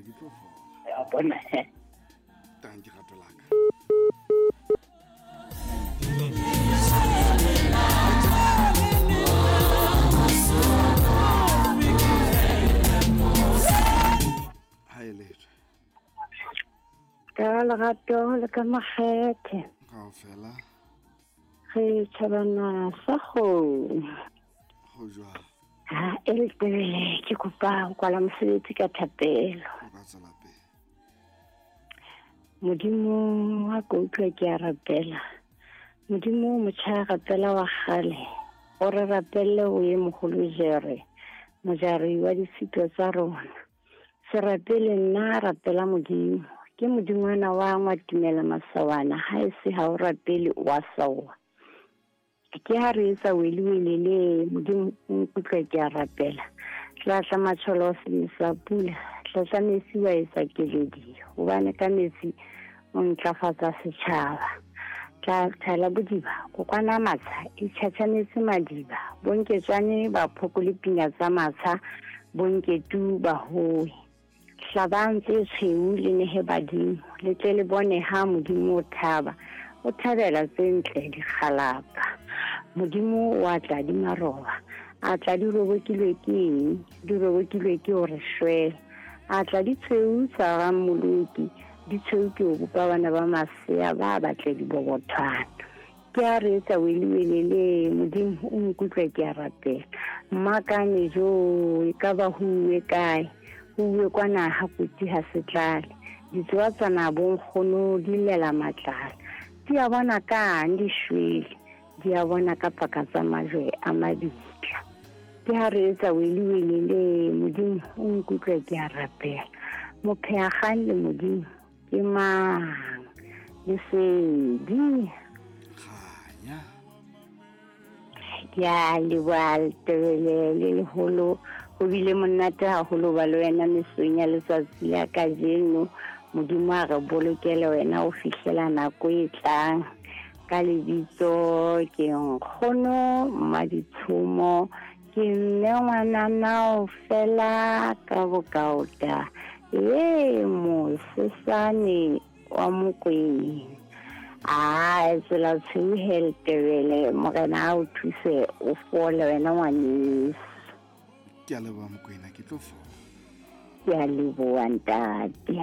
ke tlo fola. Ya bona he. Tanki rato la ka. Ha e letswe. Ka lerato le ka makgethe. Kaofela. Re tjhabana sa kgomo. Go jwang? Ha e le tebele ke kopa ho kwala mosebetsi ka thapelo. O ka tswela pele. Modimo wa ko utlwa ke a rapela. Modimo motjha a rapela wa kgale. O re rapelle o ye mogolo jere. Mojari wa ditshito tsa rona. Se rapele nna rapela Modimo. Ke modingwana wa ngwatumela masawana ha e se ha o rapele wa sawa. Ke ha re etsa weliweli le Modimo o nkutlwe ke a rapela. Tlatla matsholo se sa pula, tlatla metsi wa etsa keledi, hobane ka metsi o ntlafatsa setjhaba. Tla thala bodiba, kokwana matsha, e tjhatjhametse madiba, bonketswane ba phokole pina tsa matsha, bonketu ba howe. Hlabang tse tshweu le nehe badimo, le tle le bone ha Modimo o thaba, o thabela tse ntle dikgalapa. Modimo wa tla di maroba, a tla di robokilwe ke eng, di robokilwe ke o re shwela. A tla di tshweu tsa rammoloki, di tshweu ke o bopa bana ba masea ba batle dibobothwana. Ke a re etsa weliweli le Modimo o nkutlwe ke a rapela. Mmakane jo e ka ba ho uwe kae, ho uwe kwana ha kotsi ha se tlale. Ditsoa tsana bonkgono di llela matlala. Di a bona kang di shwele, di a bona ka paka tsa majwe a mabitla. Ke ha re etsa weliweli le Modimo o nkutlwe ke a rapela. Mopheakgang le Modimo ke mang? Lesedi. Kganya. Ke a leboha letebele le leholo. Ho bile monate haholo ba le wena mesong ya letsatsi la kajeno. Modimo a re bolokele wena ho fihlela nako e tlang. Ka lebitso ke nkgono Mmaditshomo, ke mme ngwanana fela ka bokaota. Ee, mosesane wa Mokwena. A tsela tshweu he letebele, morena a o thuse o fole wena ngwaneso. Ke a leboha Mokwena, ke tlo fola. Ke a leboha ntate.